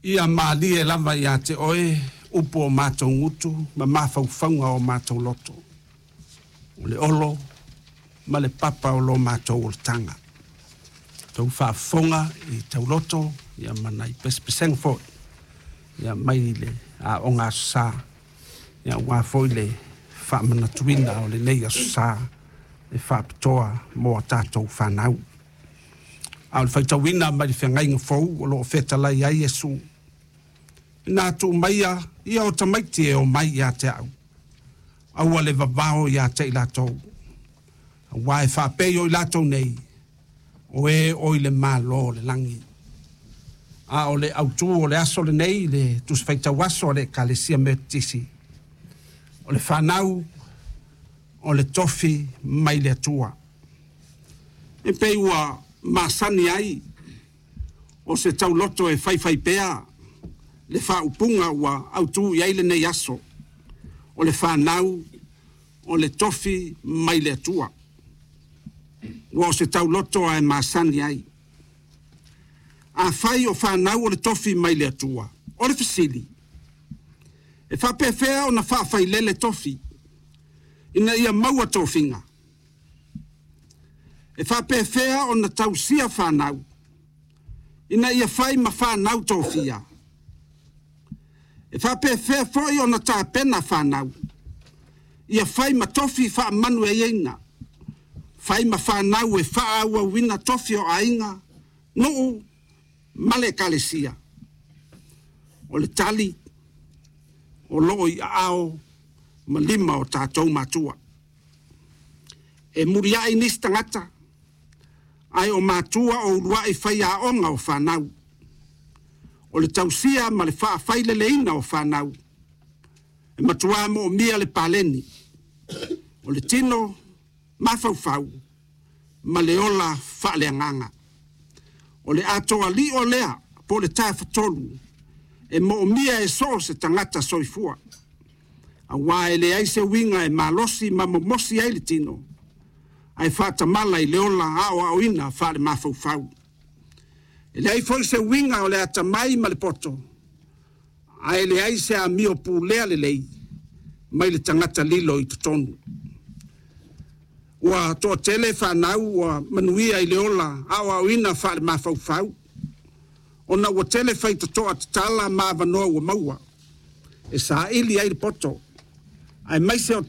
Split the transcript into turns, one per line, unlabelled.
Ia malie lava ia te oe upu o matou gutu ma mafaufauga o matou loto, o le olo ma le papa o lo matou olataga. Tou faafofoga i tauloto ia ma nai pesepesega foi ia mai le Aoga Aso Sa, ia aua foi le faamanatuina o lenei Aso Sa e faapitoa mo a tatou fanau. A o le faitauina mai le Feagaiga Fou o lo o fetalai ai Iesu, Ina tuu maia ia o tamaiti e omai ia te au, aua le vavao ia te i latou, aua e faapei o i latou nei, o e o i le Malo o le lagi. A o le autu o le aso lenei i le Tusi Faitau Aso a le Ekalesia Metotisi, o le fanau o le tofi mai le Atua. E pei ua masani ai o se tauloto e faifaipea le faaupuga ua autu i ai lenei aso, o le fanau o le tofi mai le Atua. Ua o se tauloto lava e masani ai. Afai o fanau o le tofi mai le Atua, o le fesili, e faapefea ona faafailele tofi ina ia maua tofiga? E faapefea ona tausia fanau ina ia fai ma fanau tofia? E faapefea foi ona tapena fanau ia fai ma tofi faamanuiaina, fai ma fanau e faaauauina tofi o aiga, nuu ma le Ekalesia? O le tali, o lo o i aao ma lima o tatou matua. E muliai nisi tagata, ae o matua o uluai faiaoga o fanau. O le tausia ma le faafaileleina o fanau, e matua moomia le paleni, o le tino, mafaufau ma le ola faaleagaga. O le atoa lio lea po o le tafatolu e moomia e so o se tagata soifua, aua e leai se uiga e malosi ma mimosi ai le tino ae faatamala i le ola aoaoina faale-mafaufau. E leai foi se uiga o le atamai ma le poto ae leai se amio pulea lelei mai le tagata lilo i totonu. Ua toatele fanau ua manuia i le ola aoaoina faale-mafaufau ona ua tele faitotoa tatala ma avanoa ua maua e saili ai le poto, aemaise o